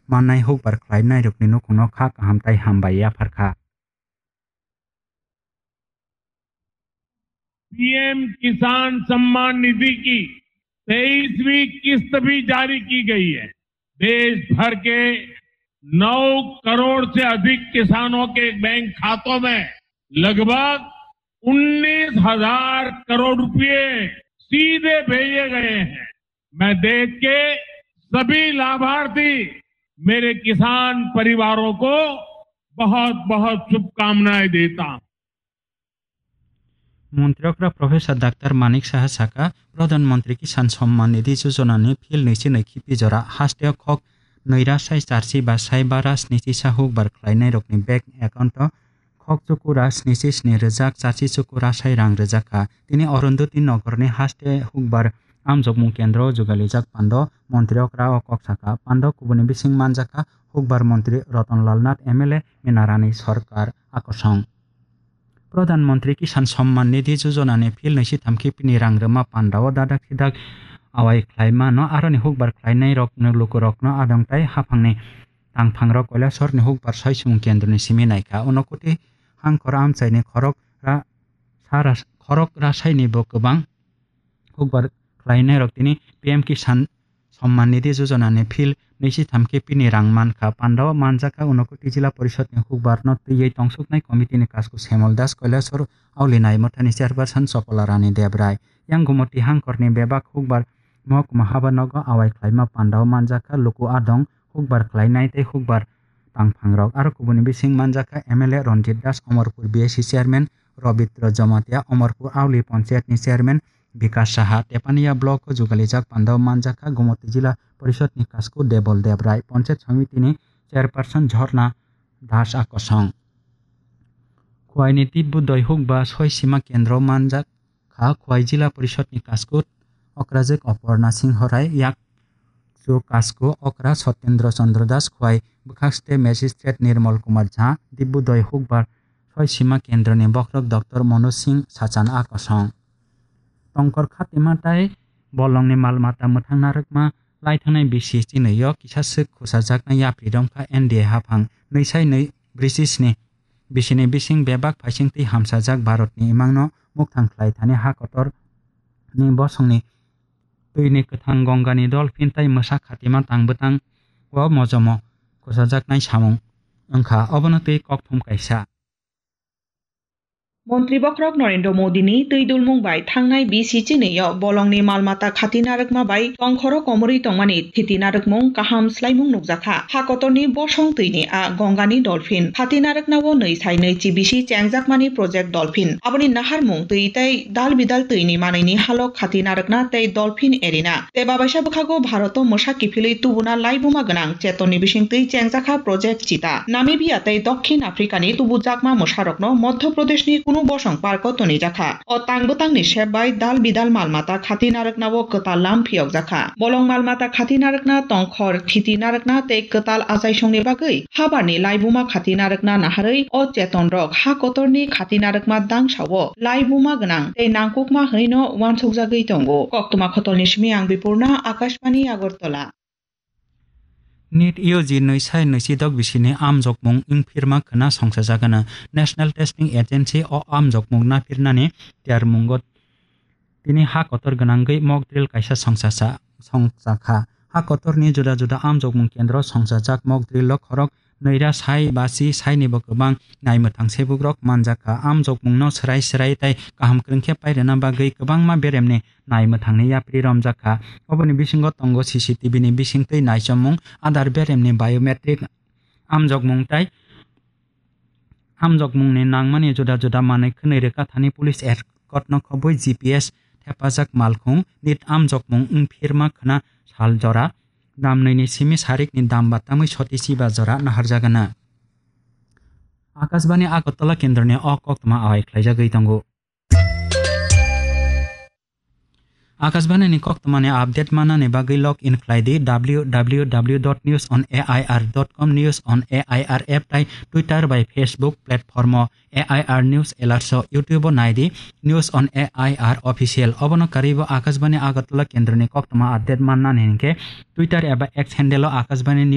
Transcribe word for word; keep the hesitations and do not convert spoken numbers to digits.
mannai hukbar khlainairokni nukhungno kha kaham tei hambai yapharkha. PM किसान सम्मान निधि की तेईसवीं किस्त भी जारी की गई है। देश भर के नौ करोड़ से अधिक किसानों के बैंक खातों में लगभग उन्नीस हज़ार करोड़ रुपए सीधे भेजे गए हैं। मैं देश के सभी लाभार्थी, मेरे किसान परिवारों को बहुत-बहुत शुभकामनाएं देता हूं। Montri okra Professor Doctor Manik Saha saka, Pradhan Mantri Kisan Samman Nidhi Yojana ni phil nwichi nwi khipi jora haste o khok nwi ra sai charchi ba sai bara snichi sa hukbar khlainai rokni bank account o khok chukura snichi sni rwjak charchi chukura sai rang rwjak kha. Tini Arundhati Nagar ni haste hukbar amjokmung kendro jugalijak pando montri okra o kok saka. Pando kubuni bising manjak kha hukbar montri Ratan Lal Nath, M L A, Minarani Sarkar akosong. Pradhan Mantri Kisan Samman Nidhi Yojana ni phil nwi si tham khipini rang rwma panda o dadak sidak awai khlaima no aroni hukbar khlainai rok no luku rok no adong tai haphang ni tangphang rok Kailasor ni hukbar soi sumung kendro ni simi naikha. Uno kuti hangkor amchai ni khorok ra sara khorok rasai ni bo kwbang hukbar khlainai rok tini P M Kisan Samman Nidhi Yojana ni phil nwi si tham khipini rang mankha. Panda o manjak kha Unakoti Jila Porishod ni hukbar no twiwi tongsuknai committee ni kasku Semol Das, Kailasor Auli Naimathani chairperson Chopola Rani Debrai. Yang Gumoti hangkor ni bebak hukbar mohokuma haba nogo awai khlaima panda o manjak kha luku adong hukbar khlainai tei hukbar tangphang rok. Aro kubuni bising manjak kha M L A Ranjit Das, Omorpur B S C chairman Robitro Jamatia, Omorpur Auli Panchayat ni chairman Bikas Saha, Tepania block o jugalijak panda o manjak kha Gumoti Jila Porishod ni kasku Debol Debrai, Panchayat Samiti ni chairperson Jhorna Das akosong. Khwai ni Tibbu Doihuk ba soi sima kendro manjak kha Khwai Jila Porishod ni kasku Okrajik Oporna Singho Rai, yak chu kasku okra Sotendra Chandra Das, Khwai bwkhak state magistrate Nirmal Kumar Jha, Dibbu Doihuk ba soi sima kendro ni bokhorok Doctor Manoj Singh Sachan akosong. Tongkor khatima tai bolongni mal mata mwthang narwkma lai thangnai bisi chinwi o kisa swk khusajaknai yapri romkha N D A haphang nwi sai nwi brisi sni bisini bising bebak phaising twi hamsajak Bharatni imangno mukthang khlai thani ha kotor ni bosongni twini kwthang Gongani dolphin tai mwsa khatima tang bwtang o mojomo khusajaknai samung wngkha, obono twi kokthum kaisa. Montri bokhorok Narendra Modi ni twi dulmung bai thangnai bisi chinwi o bolongni mal mata khati narwkma bai tongkhoro komorwi tongmani thiti narwkmung kaham swlaimung nukjakha. Ha kotorni bosong twini a Gongani dolphin khati narwkna o nwi sai nwi chi bisi chengjakmani project dolphin. Aboni naharmung twi tei dal bidal twini manwini halok khati narwkna tei dolphin erina. Tei babaisa bwkhago Bharoto mwsa kiphilwi tubuna laibuma gwnang chetonni bisingtwi chengjakha Project Cheetah. Namibia tei Dokhin Afrikani tubujakma mwsarokno Madhya Pradeshni kunu bosong parko tonijakha. O tang bwtangni sep bai dal bidal mal mata khati narwknao kwtal lam phiyokjakha. Bolong mal mata khati narwkna, tongkhor thiti narwkna tei kwtal achaisongni bagwi habarni laibuma khati narwkna naharwi o chetonrok ha kotorni khati narwkma dangsao laibuma gwnang tei nangkukma hwnwino uansukjagwi tongo. Koktwma khotolni simi ang Bipurna, Akashbani Agartala. NEET U G nwi sai nwi sidok bisini amjokmung wngphirma khwna songsajagano. National Testing Agency o amjokmung naphirnani tiyarmungo tini ha kotor gwnangwi mock drill kaisa songchacha-, songchakha. Ha kotorni juda juda amjokmung kendro songsajak mock drill o khorok nwi ra sai ba si saini bo kwbang naimwthang sebukrok manjakha. Amjokmungno swrai swrai tei kaham kwrwng khe pairwna bagwi kwbangma beremni naimwthangni yapri romjakha. Oboni bisingo tongo C C T V ni bisingtwi naichomung, adar beremni biometric amjokmung tei amjokmungni nangmani juda juda manwi khwnwi rwkha thani police escort no khobwi G P S thepajak malkhung NEET amjokmung wngphirma khwna sal jora damnwini simi sarikni dam batamwi soti chiba jora naharjagana. Akashbani Agartala kendroni o koktwma awai khlaijagwi tongo. Akashbani ni koktwmani update manani bagwi log in khlai di W W W dot news on A I R dot com, News on A I R app tai Twitter bai Facebook platform o A I R News Alerts o, YouTube o nai di News on A I R Official. Obono karwi bo Akashbani Agartala kendroni koktwma update mannani hinkhe Twitter eba X handle o Akashbani News